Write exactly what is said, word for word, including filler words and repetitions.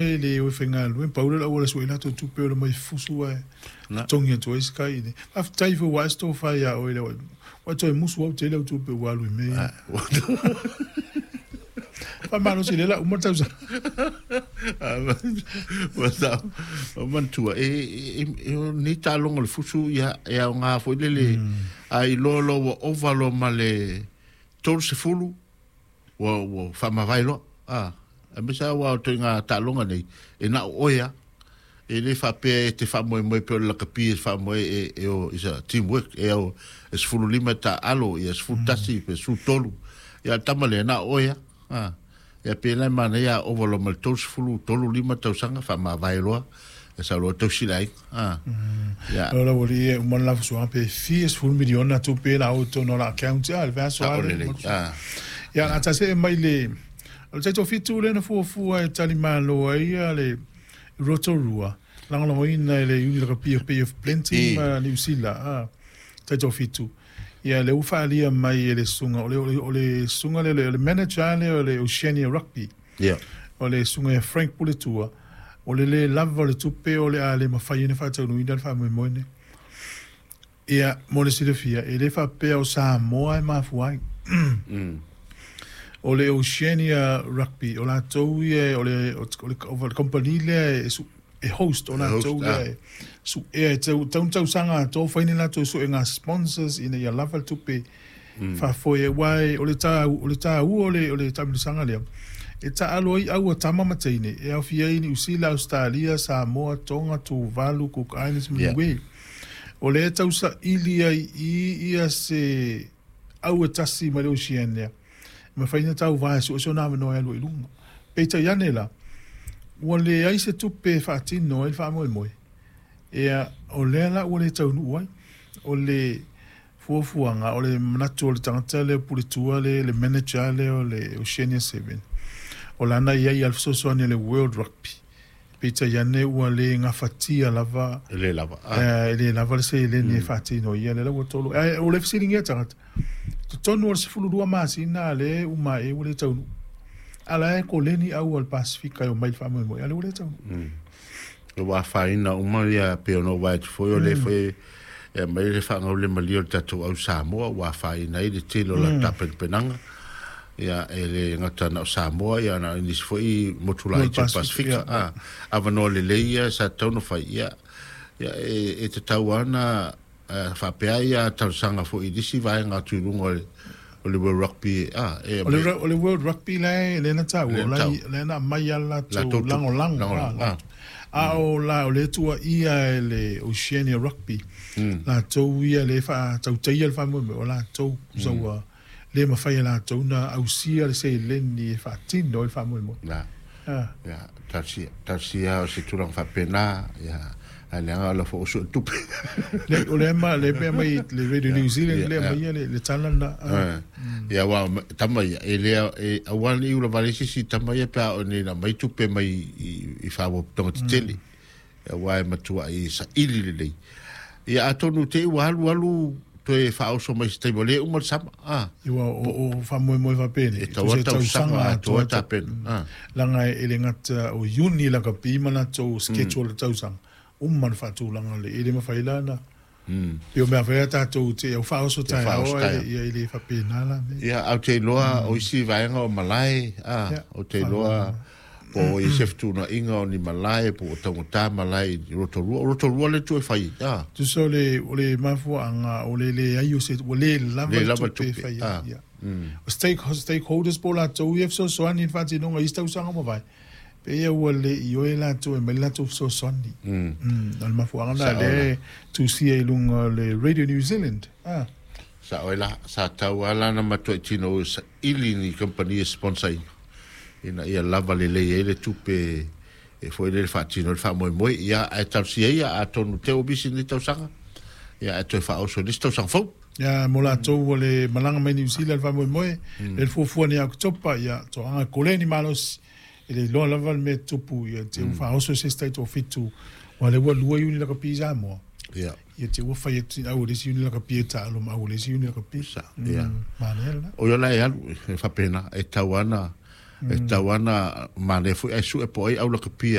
Le o faigaluega pau le auala sue latou tupe o le mai fusu ae totogi atu ai se kai. Faafetai foi ua ae se tofa iā oe le ua toe musu au tele au tupe ua alu i mea ia. Faamalosi lea la uma le tausaga. Ua sa o manatua e e e o nei taaloga o le fusu ia e aoga foi lele a iloa loa ua ova loa ma le tolu sefulu ua ua faamavae loa a aemaise lava aua o ituaiga taaloga nei e na o oe lava e le faapea e te faamoemoe pei o le lakapi e faamoe e e o is a team work e o e sefulu lima e taaalo ia sefulu tasi pe sefulu tolu ia le tama lea na o oe lava a ia pe la e manaia a ova loa ma le tolu sefulu tolu lima tausaga faamavae loa e sau loa tausi le aiga a ia. O la ua lii e uma le lafusuaga pe fia sefulu miliona tupe la o totonu o la account a le vaiaso a lelei a. Ia a tasee mai le o le taitoafitu lea na fuafua e talimalo ai ia le Rotorua lagolagoina e le Iuni Lakapi o Bay of Plenty ma Niu Sila a taitoafitu. Ia lea ua faaalia mai e le susuga o le o le susuga lea o le manager lea o le Oceania Rugby. Ia. O le susuga ia Frank Puletua o le lē lava o le tupe o le a le mafai ona faataunuuina le faamoemoe lenei. Ia mo le silafia e le faapea o Samoa e mafua ai. O le Oceania Rugby o latou ia o le o le o le kamupani lea e e host o latou lea e suea e tau tau tausaga atoa fai ni latou suega sponsors ina ia lava le tupe faafoe aua o le ta o le taua o le o le taamilosaga lea e taalo ai au a tama ma teine e aofia ai Niu Sila, Ausetalia, Samoa, Tonga, Tuvalu, Cook Islands ma Niue. O lea e tausaili ai i ia se au e tasi mai le Oceania e mafai ona tauva e suesue ona avanoa e alu ai i luga. Peitai ane la, ua leai se tupe e faatino ai le faamoemoe, ia o lea la ua le taunuu ai. O le fuafuaga, o le manatu o le tagata lea puletua le, le manager lea o le Oceania Seven, o lana i ai a le fesoasoani a le World Rugby. Peitai ane ua le gafatia lava. E le lava. E le lava le seleni e faatino ia lea la ua tolo. Ae o le fesiligia tagata, totonu o le sefulu lua masina lea uma e ua le taunuu. A la e koleni au o le Pasifika e omai i le faamoemoe, a lea ua le taunuu. Ua afaina uma ia pei ona ou vaai atu foi o lea foi e aumai le faagaulemalie o le tatou au Samoa ua afaina ai le tele o latou tapenapenaga. Ia e le gata na o Samoa ia na o nisi foi motu laiti o le Pasifika. A avanoa lelei ia sa tatau ona fai ia ia e, e tatau lava ona faapea ia talosaga foi i nisi vaega atu i luga o le o le World Rugby a e O le, o le World Rugby la e lea na taua, Lea na o la taua. lea na aumai lava le latou Latou tu- lagolago. Lagolago, A, a o la o le tuuaia e le Oceania Rugby, latou ia le faatautaia le faamoemoe, o latou sa ua le mafai e latou na ausia le seleni e faatino ai le faamoemoe. Na Ah. ia talosia talosia o se tulaga faapena ia ae leaga o la foi o sue tupe. Le o le ma le pea mai le Radio New Zealand ia, le ia. mai ia le, le tala na. Ah. Ia aua tama ia e lea e aua nei ula vale se isi tama ia pe a o nei na mai tupe mai i i faapotopotoga tetele aua e matuai saili lelei ia atonu te i ua alu alu toe faaoso mai se taimi o lea e uma le sama a. Ua o o faamoemoe faapene. E tau Se tausaga atoa tapena a. Laga e le gata o Iuni lakapi ma latou schedule le tausaga. Uma le faatulaga le e le mafai la na. Pe o mea fai a tatou te au faaoso taeao faaoso ai taeao. Ia e le faapena la me. Ia au te iloa o isi vaega o malae a Ia, o te iloa po o i se fetuunaiga o ni malae po o taugata malae i Rotorua o Rotorua le tu e fai a. Tusa o le o le mafuaaga o le leai o se ua le lava Le le lava le tupe e tupe, fai ai. ah. Ia. O stake, stakeholders po o latou ia fesoasoani i le faatinoga i isi tausaga ua mavae. Pe ia ua le i oe latou e mai le latou fesoasoani. Mm. O le mafuaaga lena Sao lea e tusia i luga o le Radio New Zealand. Ah. Sa oe la sa tau ala na matuai tino o saili ni kampani e sponsor ina ina ia lava lelei ai le tupe e foi le faatino le faamoemoe ia ae talosia ia atonu te o misi ni tausaga ia ae toe faaoso i nisi tausaga fou. Ia mo latou ua le malaga mai Niu Sila le faamoemoe, le fuafua nei Oketopa, ia toaga koleni malosi. E le iloa lava le mea tupu, ia te ua faaoso se isi taitoafitu, ua lea ua lua iuni lakapi i Samoa. Ia. Ia te ua fai atu au le isi iuni lakapi e taalo ma au le isi iuni lakapi. Sa ia. Manaia lena. O ia la e alu e faapena e tau ana E tau ana manaia foi ae su'e po o ai aulakapi.